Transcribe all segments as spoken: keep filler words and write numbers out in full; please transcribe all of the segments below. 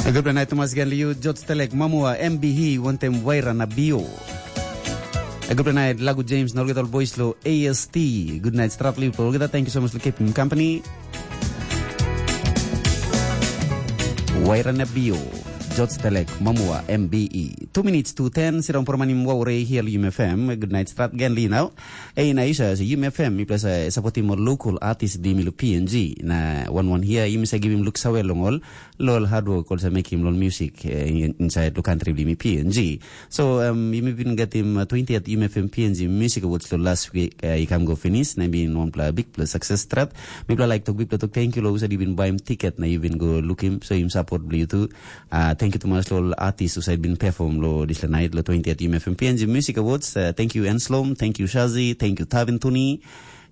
Good night, Thomas Ganliu, George Telek, Mamua, M B E, wantem Waira na Bio. Good night, Lagu James, na olgeta ol boys lo A S T. Good night, Stratli, olgeta, thank you so much for keeping company. Waira na Bio, George Telek, Mamua, M B E. Two minutes to ten, sira on promanim wawre here, U M F M. Good night, Strat Ganli now. Ei, na isa, sa U M F M, mi plasa supportim ol local artist bli mi lo P N G. Na wan wan hia, yumi sa givim luk sawe long ol, lo ol hard work, ol sa mekim lo ol music, eh, in-, inside lo country bli mi P N G. So, um, yumi bin gatim, uh, twentieth U M F M P N G Music Awards lo last week, uh, i kam go finish, na bin wanpela big plus success strat. Mi pla like tok, big tok, thank you lo usa di bin baim ticket, na yu bin go lukim, so im support bli tu. Uh, thank you tumas lo ol artist usa bin perform lo this night, lo twentieth U M F M P N G Music Awards. Uh, thank you Enslom, thank you Shazi, thank you Tavin Tuni.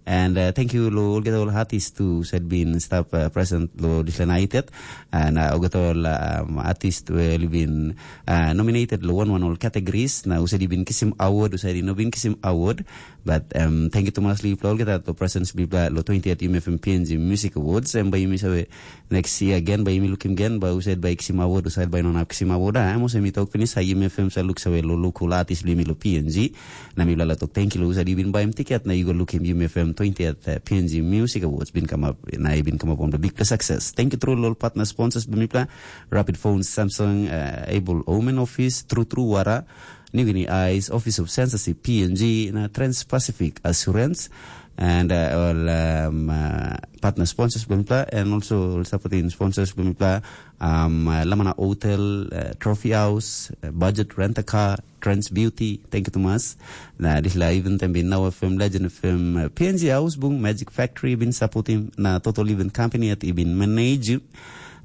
And uh, thank you lo olgeta ol artist tu said bin stap uh, present lo this night yet. And uh, olgeta ol um, artist we li bin uh, nominated lo one one ol categories. Na usa di bin kisim award, usa di no bin kisim award. But um, thank you tumas li pla olgeta to presence bli pla lo twentieth U M F M P N G Music Awards. And by mi sawe next year again, by mi lukim again, by usa by kisim award, usa by non kisim award. Ah, mo se mi talk finish, ha U M F M sa look sawe lo local artist bli mi lo P N G. Na mi bla la tok, thank you lo usa di bin baim ticket, na you go look him U M F M twentieth uh, P N G Music Awards bin come up, na i bin come up on the big success. Thank you through lo partner sponsors bli mi pla, Rapid Phones, Samsung, uh, Able Omen Office, True True Wara, New Guinea Eyes, Office of Censorship, P N G, na Trans Pacific Assurance, and uh, all um, uh, partner sponsors bli mi pla, and also all supporting sponsors bli mi pla, um, uh, Lamana Hotel, uh, Trophy House, uh, Budget Rent a Car, Trans Beauty, thank you tumas. Na this la even tem bin Now F M, Legend F M, uh, P N G House Bung, Magic Factory bin supporting, na Total Event Company at i bin manage.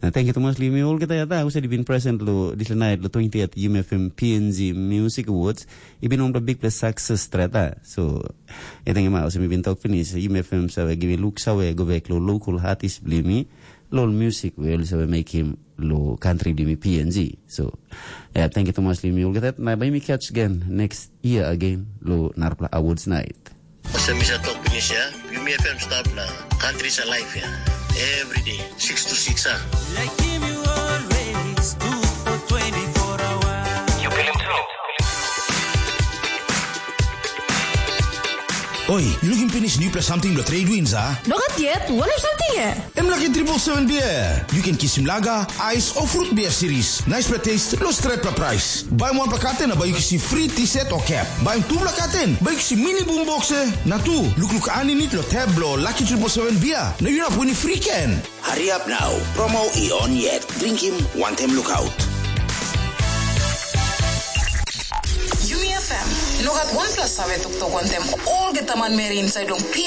Na thank you tumas li mi olgeta ya ta, usa di bin present lo this night lo twentieth U M F M P N G Music Awards. I bin on the big plus success strata. So, I think ma usa mi bin talk finish. U M F M sawe give me look sawe go back lo local artist bli mi. Lo music we also make him lo country bli mi P N G. So, yeah, thank you tumas li mi olgeta. Na by mi catch again next year again lo narpla awards night. Ose mi sa tok pinis ya, U M F M stap na country sa life ya. Every day, six to six ah. Like him you always do for twenty-four hours. You feel him too. Oi, you looking finish new plus something lo trade winds ah? No gat yet, what is something eh? Em laki triple seven beer. You can kisim lager, ice or fruit beer series. Nice pla taste, lo stretpla price. Buy one pla carton na buy you kisim free T-shirt or cap. Buy two pla carton, buy you kisim mini boom box eh. Na tu, look look aninit lo tab lo Lucky triple seven beer. Na you not winning free can. Hurry up now. Promo i on yet. Drink him one time lookout. Yumi F M, no gat wanpela save toktok wantem olgeta manmeri inside long